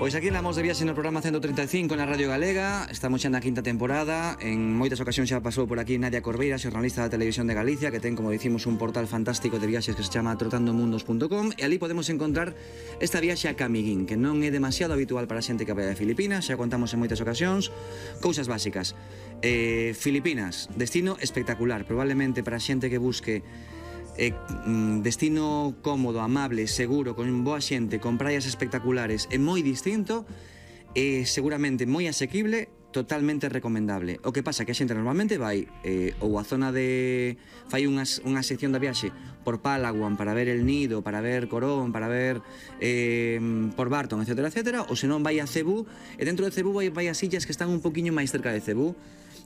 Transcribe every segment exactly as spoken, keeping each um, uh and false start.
Pois aquí andamos de viaxe no programa ciento treinta e cinco na Radio Galega. Estamos xa na quinta temporada. En moitas ocasións xa pasou por aquí Nadia Corbeira, xornalista da Televisión de Galicia, que ten, como dicimos, un portal fantástico de viaxes que se chama trotando mundos punto com, e ali podemos encontrar esta viaxe a Camiguín, que non é demasiado habitual para a xente que vai a Filipinas. Xa contamos en moitas ocasións. Cousas básicas. eh, Filipinas, destino espectacular, probablemente para a xente que busque Eh, destino cómodo, amable, seguro, con boa xente, con praias espectaculares, é moi distinto, e seguramente moi asequible, totalmente recomendable. O que pasa que a xente normalmente vai eh, ou a zona de... fai unhas, unha sección da viaxe por Palawan para ver El Nido, para ver Corón, para ver eh, por Barton, etcétera, etcétera, ou senón vai a Cebú, e dentro de Cebú vai, vai as illas que están un poquinho máis cerca de Cebú,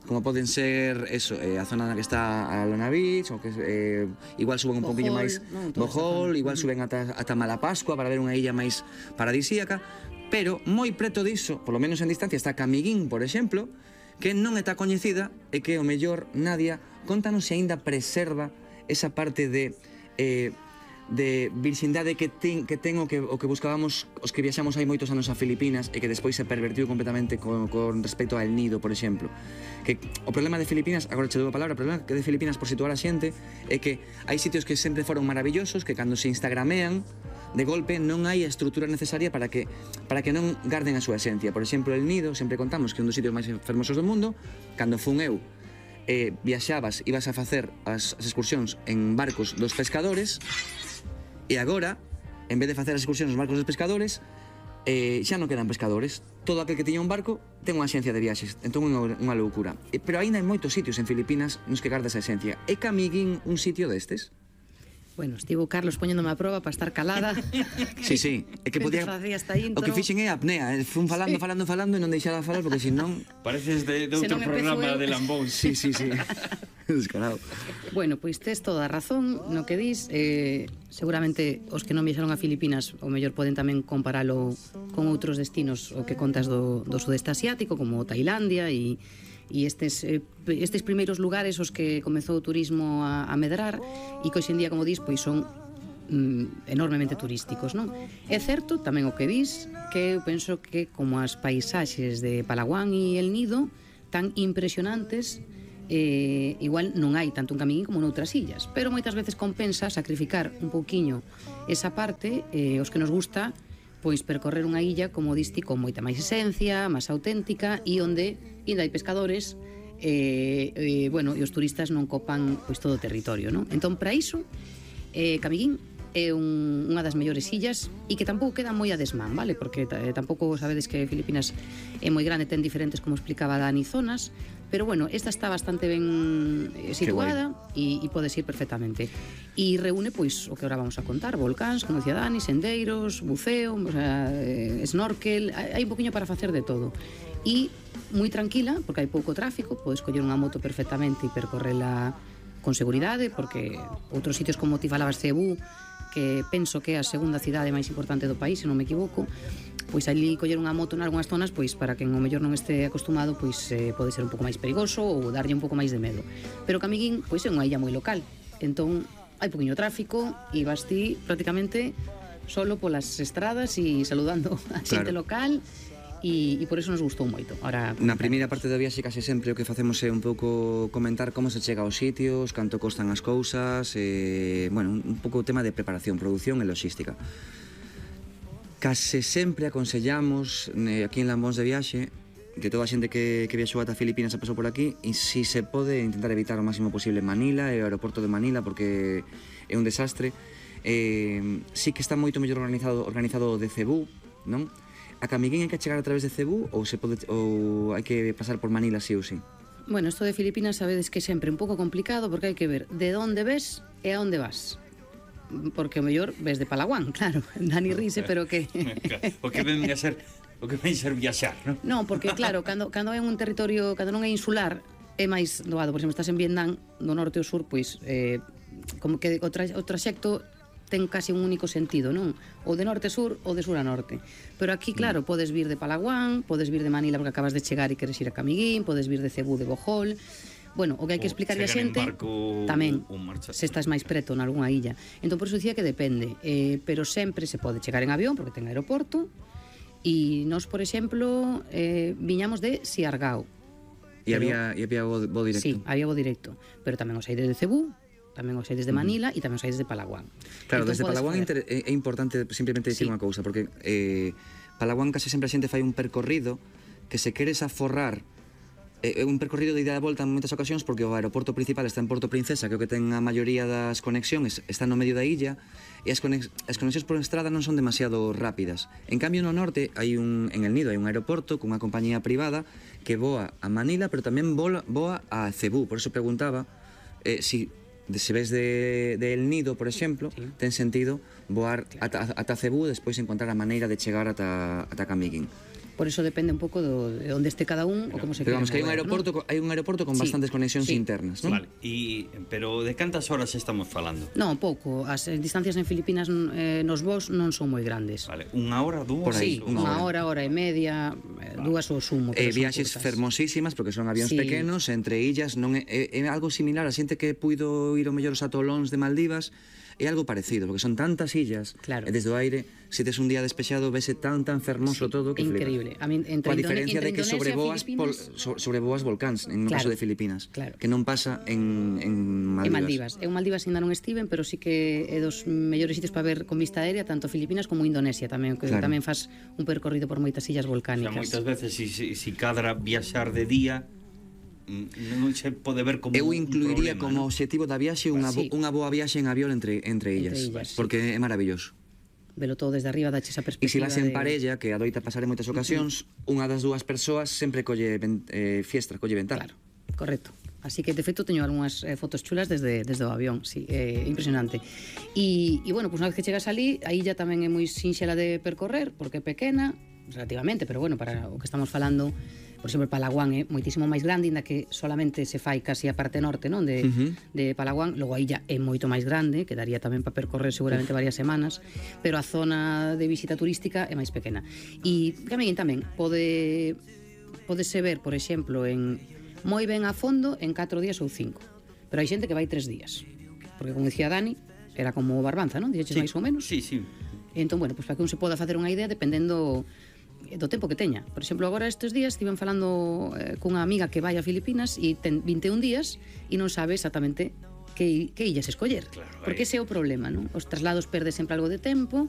como poden ser eso, eh, a zona na que está a Lona Beach, ou que eh, igual suben un poquinho máis no, Bohol, igual suben ata, ata Malapascua para ver unha illa máis paradisíaca, pero moi preto diso, polo menos en distancia, está Camiguín, por exemplo, que non está coñecida e que o mellor Nadia contanos se aínda preserva esa parte de eh, de virxindade que ten, que ten o que, o que buscábamos os que viaxamos hai moitos anos a Filipinas e que despois se pervertiu completamente con, con respecto a El Nido, por exemplo. Que o problema de Filipinas, agora che dou a palabra, o problema de Filipinas, por situar a xente, é que hai sitios que sempre foron maravillosos, que cando se instagramean de golpe non hai a estrutura necesaria para que para que non garden a súa esencia. Por exemplo, El Nido, sempre contamos que é un dos sitios máis fermosos do mundo. Cando fun eu, eh, viaxabas, ibas a facer as, as excursións en barcos dos pescadores, e agora, en vez de facer as excursións nos barcos dos pescadores, eh, xa non quedan pescadores. Todo aquel que tiña un barco ten unha axencia de viaxes, entón é unha, unha loucura. E, pero aínda hai moitos sitios en Filipinas nos que garda esa esencia. É Camiguín un sitio destes? Bueno, estivo Carlos poñéndome a proba para estar calada. Sí, sí, é que podía... O que fixen é apnea, fun falando, sí. falando, falando e non deixaba falar, porque senón... Pareces de, de outro programa de Lambón. Sí, sí, sí. Descarado. Bueno, pois tes toda a razón no que dis. eh, Seguramente os que non viaxaron a Filipinas o mellor poden tamén comparalo con outros destinos o que contas do, do sudeste asiático, como Tailandia e... e estes, eh, estes primeiros lugares os que comezou o turismo a, a medrar e que hoxe en día, como dis, pois son mm, enormemente turísticos, non? É certo tamén o que dis, que eu penso que como as paisaxes de Palawan e El Nido tan impresionantes, eh, igual non hai tanto un Camiguín como noutras illas, pero moitas veces compensa sacrificar un pouquiño esa parte, eh, os que nos gusta pois percorrer unha illa, como diste, con moita máis esencia, máis auténtica, e onde ainda hai pescadores, e, e, bueno, e os turistas non copan pois todo o territorio, non? Entón, para iso, eh, Camiguín é un, unha das mellores illas e que tampouco queda moi a desmán, vale? Porque eh, tampouco sabedes que Filipinas é moi grande, ten diferentes, como explicaba Dani, zonas, pero bueno, esta está bastante ben eh, situada e, e podes ir perfectamente. E reúne, pois, o que agora vamos a contar, volcáns, como decía Dani, sendeiros, buceo, o sea, eh, snorkel, hai un poquinho para facer de todo. E moi tranquila, porque hai pouco tráfico, podes coller unha moto perfectamente e percorrela con seguridade, porque outros sitios como ti falabas, Cebú, que penso que é a segunda cidade máis importante do país, se non me equivoco, pois ali coller unha moto en algunhas zonas, pois para quen o mellor non este acostumado, pois eh, pode ser un pouco máis perigoso ou darlle un pouco máis de medo. Pero Camiguín, pois é unha illa moi local, entón hai poquinho tráfico e vas ti prácticamente solo polas estradas e saludando a xente claro. local. E, e por eso nos gustou moito. Ahora, na primeira parte da viaxe case sempre o que facemos é un pouco comentar como se chega aos sitios, canto costan as cousas, e, bueno, un pouco o tema de preparación, produción e logística. Case sempre aconsellamos eh, aquí en Lambóns de viaxe, que toda a xente que, que viaxou ata Filipinas e pasou por aquí, e si se pode intentar evitar o máximo posible Manila e o aeroporto de Manila, porque é un desastre. Eh, sí que está moito mellor organizado organizado de Cebú, non? A Camiguín hai que chegar a través de Cebú ou se pode ou hai que pasar por Manila sí ou sí? Bueno, isto de Filipinas sabedes que é sempre un pouco complicado porque hai que ver de onde ves e a onde vas. Porque o mellor ves de Palawan, claro, Dani rise, pero que... o que ven a ser, o que ven ser viaxar, non? Non, porque claro, cando, cando é un territorio, cando non é insular, é máis doado. Por exemplo, estás en Vietnam, do norte ao sur, pois, eh, como que o, tra o traxecto ten casi un único sentido, non? Ou de norte a sur ou de sur a norte. Pero aquí, claro, podes vir de Palawan, podes vir de Manila porque acabas de chegar e queres ir a Camiguín, podes vir de Cebú, de Bohol. Bueno, o que hai que explicarle a xente tamén, se estás máis preto en algunha illa. Entón, por iso dicía que depende, eh, pero sempre se pode chegar en avión porque ten aeroporto, E nós, por exemplo, eh, viñamos de Siargao. E había, e había bo, bo directo. Sí, había bo directo. Pero tamén os hai desde Cebú, tamén os hai desde Manila e tamén os hai desde Palawan. Claro, Entón, desde podes Palawan facer- é, é importante simplemente dicir Sí. unha cousa, porque eh, Palawan case sempre a xente fai un percorrido que se queres aforrar é un percorrido de ida e volta en moitas ocasións porque o aeroporto principal está en Porto Princesa, que é o que ten a maioría das conexións, está no medio da illa, e as, conex as conexións por estrada non son demasiado rápidas. En cambio, no norte, hai un, en El Nido hai un aeroporto cunha compañía privada que voa a Manila, pero tamén voa, voa a Cebú. Por eso preguntaba eh, si, de, se ves de, de El Nido, por exemplo, sí. ten sentido voar ata, ata Cebú e despois encontrar a maneira de chegar ata, ata Camiguín. Por eso depende un pouco do, de onde este cada un ou como se Pero quere vamos, que hai un mover, aeroporto, ¿no? co- hai un aeroporto con Sí, bastantes conexións sí. internas, non? Vale, y, pero de cantas horas estamos falando? Non, pouco. As eh, distancias en Filipinas eh, nos voos non son moi grandes. Vale, unha hora, dúas? Por aí, Sí, unha unha hora, hora e media, eh, dúas o sumo. Eh, pero son viaxes curtas. fermosísimas porque son avións Sí. pequenos entre illas, non é, é, é algo similar a xente que puido ir ao mellor os atolóns de Maldivas, é algo parecido, porque son tantas illas, Claro. e desde o aire, se tes un día despexado, vese tan tan fermoso Sí, todo que flipas. increíble. A min, Coa entre Indone- diferencia de entre que Indonesia, sobrevoas pol, Filipinas- so, sobrevoas volcáns en o caso Claro, de Filipinas, claro. que non pasa en, en Maldivas. En Maldivas. Eu Maldivas ainda non estiven, pero sí que é dos mellores sitios para ver con vista aérea, tanto Filipinas como Indonesia tamén, que Claro. tamén faz un percorrido por moitas illas O sea, volcánicas. moitas veces, si, si, si cadra viaxar de día, mm, non se pode ver como Eu un incluiría problema, como ¿no? objetivo da viaxe unha, bo, Sí. unha boa viaxe en avión entre, entre illas, illas, sí. porque é maravilloso. Velo todo desde arriba, dache esa E perspectiva. se vas en de- parella, que adoita pasar en moitas ocasións, unha das dúas persoas sempre colle ven, eh, fiestra, colle ventana. Claro, correcto. Así que, de feito, teño algunhas eh, fotos chulas desde, desde o avión, sí, eh, impresionante. E, e bueno, pues unha vez que chegas ali, a illa tamén é moi sinxela de percorrer, porque é pequena, relativamente, pero bueno, para o que estamos falando, por exemplo, Palawan é moitísimo máis grande, inda que solamente se fai casi a parte norte, non, de, Ujú. de Palawan. Logo a illa é moito máis grande, que daría tamén para percorrer seguramente varias semanas, pero a zona de visita turística é máis pequena. E Camiguín tamén pode podese ver, por exemplo, en moi ben a fondo en catro días ou cinco. Pero hai xente que vai tres días. Porque, como dicía Dani, era como Barbanza, non? Dixeches Sí, máis ou menos. Sí, sí. E entón, bueno, pues para que un se poda facer unha idea dependendo do tempo que teña. Por exemplo, agora estes días estiven falando eh, cunha amiga que vai a Filipinas e ten vinte e un días e non sabe exactamente que, que illas escoller. Claro, Porque aí. ese é o problema, non? Os traslados perde sempre algo de tempo,